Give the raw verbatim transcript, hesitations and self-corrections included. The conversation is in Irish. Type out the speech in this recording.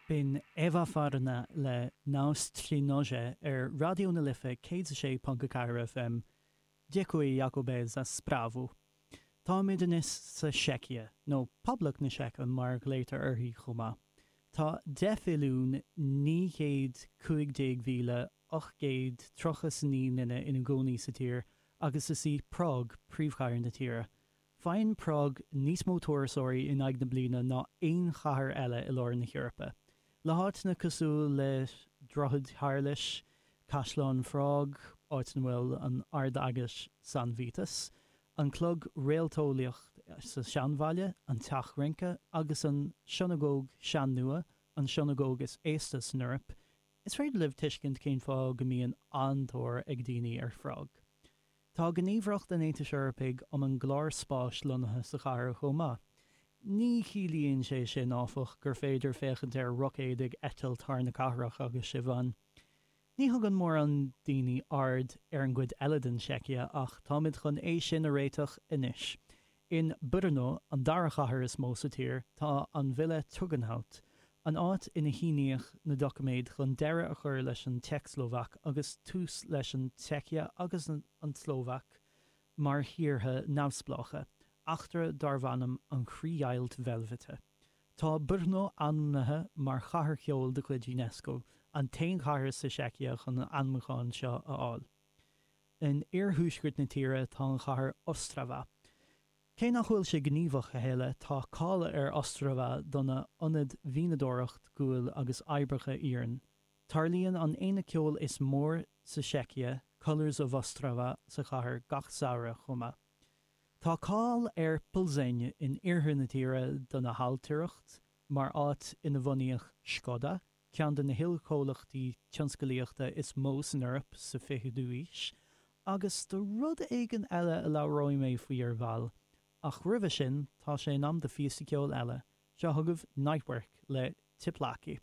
B'in Eva Farna le Nás Trí Nože ar Raidió na Life céad a sé ponc a ceathair FM. Děkuji Jakube za zprávu. Táimid anois sa Seicia, nó Poblacht na Seice mar a ghlaotar uirthi chomh maith. Tá deich mhilliún naoi gcéad cúig déag mhíle ocht gcéad tríocha 's a naoi nduine ina gcónaí sa tír agus is í Prág príomhchathair na tíre. Faigheann Prág níos mó turasóirí in aghaidh na bliana ná aon chathair eile i lár na hEorpa. Le háiteanna cosúil le Droichead Shéarlais, Caisleán Phrág, áit ina bhfuil an Ardeaglais San Vitus, an Clog Réalteolaíoch sa Seanbhaile, an Teach Rince agus an Sionagóg Sean-Nua, an sionagóg is aosta san Eoraip, is féidir libh tuiscint cén fáth go mbíonn an-tóir ag daoine ar Phrág. Tá Gníomhaireacht an Aontais Eorpaigh um an gClár Spáis lonnaithe sa chathair chomh maith. Ní chiallaíonn sé sin, áfach, gur féidir féachaint ar roicéid ag eitilt thar na cathrach agus sibh ann. Ní thugann mórán daoine aird ar an gcuid eile den tSeicia ach táimid chun é sin a réiteach anois. In Brno, an dara chathair is mó sa tír, tá an Villa Tugendhat, an áit ina síníodh na doiciméid chun deireadh a chur leis an tSeicslóvaic agus tús leis an tSeicia agus an tSlóvaic mar thíortha neamhspleácha. Eachtra darbh ainm an Chríochdheighilt Veilbhite. Tá Brno ainmnithe mar Chathair Cheoil de chuid Unesco, an t-aon chathair sa tSeicia chun an ainmniúchán seo a fháil. In iarthuaisceart na tíre tá an chathair Ostrava. Cé nach bhfuil sé gníomhach a thuilleadh, tá cáil ar Ostrava dona ionad mhianadóireacht guail agus oibreacha iarainn. Tarlaíonn an aonach ceoil is mór sa tSeicia, Colours of Ostrava, sa chathair gach samhradh chomh maith. Tá cáil ar Plzeň in iarthar na tíre dona hailtireacht, mar áit ina bhunaíodh Škoda, ceann de na hollchomhlachtaí tionsclaíochta is mó san Eoraip sa fichiú haois, agus do rud éigin eile a labhróidh mé faoi ar ball. Ach roimhe sin, tá sé in am do phíosa ceoil eile. Seo chugaibh Nightwork le Tepláky.